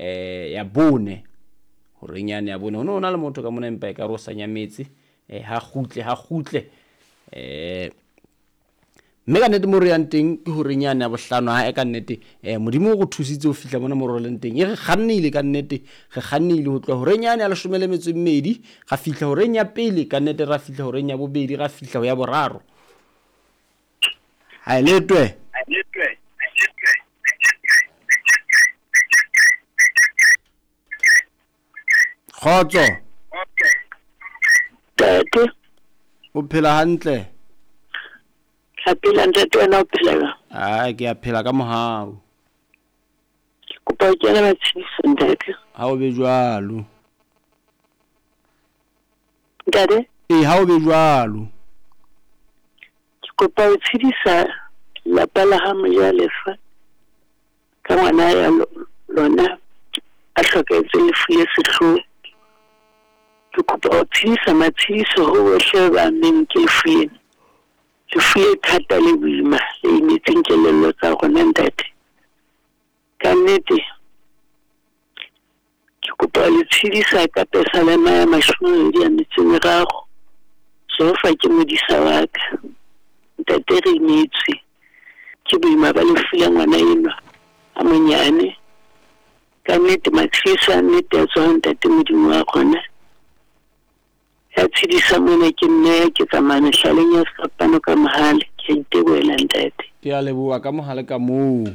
ya bone. Horeng yane ya bone ho ne ho na le motho ka mona empa e ka re o sa nyametse. Ha kgutle, ha kgutle. Mme ka nnete mo re yang teng ke horeng yane ya bohlano. Ha e ka nnete Modimo o re thusitse ho fihla mona mo re leng teng. E re kgannile ka nnete, re kgannile ho tloha horeng yane ya leshome le metso e mmedi, ra fihla horeng ya pele, ka nnete ra fihla horeng ya bobedi, ra fihla ho ya boraro. Ha e letwe. Kgotso. Ntate. O phela hantle? Ke a phela ntate, wena o phela jwang? Ai, ke a phela ka mohau. Ke kopa ho kena matshediso ntate. Ha o be jwalo. Ntate? Ee, ha o be jwalo. Ke kopa ho tshedisa lelapa la ha Mojalefa ka ngwana ya lona a hlokahetseng lefu le sehloho. Ke kopa ho tshedisa matshediso ho bohle ba ammeng ke lefu lena. Lefu le thata le boima le imetseng kelello tsa rona ntate. Ka nnete ke kopa ho le tshedisa ka Pesalema ya 23, Jehova ke modisa wa ka. Ntate re imetswe ke boima ba lefu la ngwana enwa a monyane. Ka nnete matshediso a nnete a tswa ho Ntate Modimo wa rona. Ya tshedisa mona ke nna ya ke tsamaya mehlaleng ya sefapano ka mohale. Ke a itebohela ntate. Ke a leboha ka mohale ka moo.